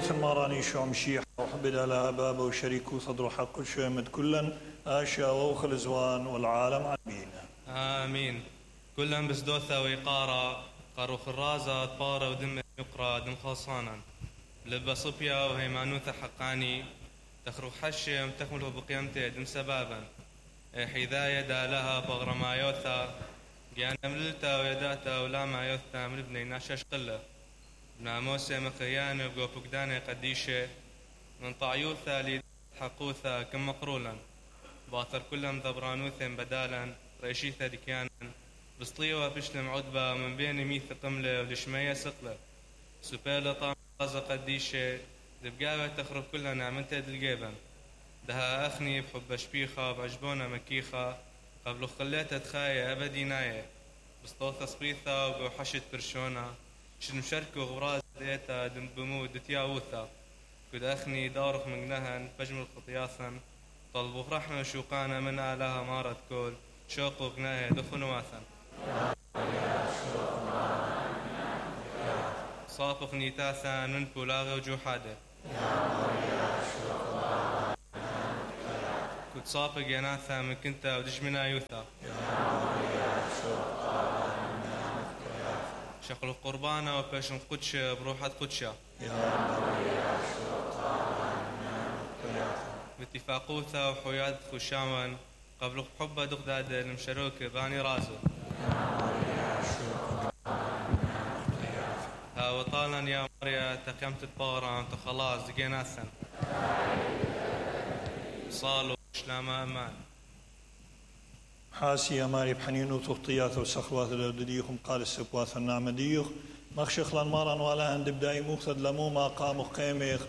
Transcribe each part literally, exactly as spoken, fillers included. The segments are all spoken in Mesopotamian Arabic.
وث الماراني شو مشيح وحبد على بابه وشريكه صدره حق شو يمد كلا آشيا ووخ الزوان والعالم عبين آمين. كلهم بسدوثة ويقارا قاروخ الرازة طارة ودم يقرا دم خلصانا لبا صبيا وهيمانوثة حقاني تخرج حشم تكمله بقيمته دم سبابا حذايا دالها بغرمايوثا جانا مللتا ويداتا ولا ما يوثا من ابني ناشاش قلة ناموسة مخيانة وقوفقدانة قديشة من طعيوثا لي حقوثا كم مقرولا باطر كلهم ذبرانوثا بدالا ريشيثا دكيانا بسطيوة بشلم عدبة من بين ميث قملة ولشمية سقلة سبالة طامزة قديشة دبقاوة تخرب كلها نعملتها دلقيبا دها أخني بحب شبيخة بعجبونة مكيخة قبل خليتها تخاية أبدي ناية بسطوثة صبيثة وقوحشت برشونة شن مشاركة غراز ديتا دم بمود دتياوثة كد أخني دارخ من جنهن فجم الخطياثا طلبوا رحمة وشوقانا من آلها مارت كل شوقوا غناها دفنوا واثا صافق نيتاثا من بولاغ وجوحاده كنت صافق يناثا من كنتا ودجمنا يوثا شقل القربانة وباشن قدش بروحة قدشة باتفاقوثا وحياد خشاما قبل حبة دغداد المشروك باني رازو ها وطالا يا مريا تقيمت الطوران تخلاص دقيناثا صالوا شلاما أمان حاسي يا ماري بحنينو تغطيات وسخوات الأردديخم قال السبواث النعمديخ مخشخ لنمارا ولا هند بداي مخذ لمو ما قام قيميخ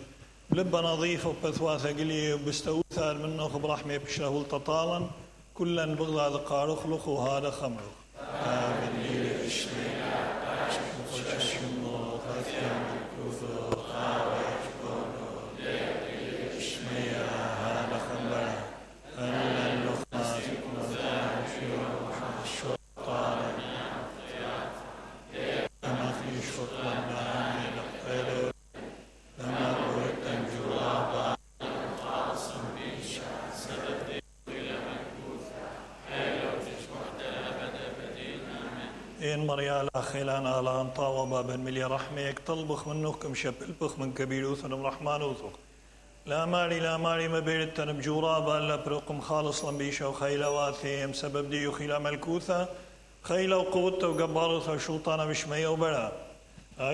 لبا نظيف وبثواثة قلي وبستوثار منه برحمة بشره التطالا كلا بغضا ذقار اخلق وهذا خمرخ آمن لي اشمي إن مريال أخيلان آلان طاوبا بن ملي رحميك طلبخ منكم شبلبخ من كبير وثنم رحمن وثق لا ماري لا ماري ما بيرتن بجورابا لا برقم خالص لنبيشا وخيلا واثيم سبب ديو خيلا ملكوثا خيلا وقوتا وقبارثا وشلطانا بشمية وبلا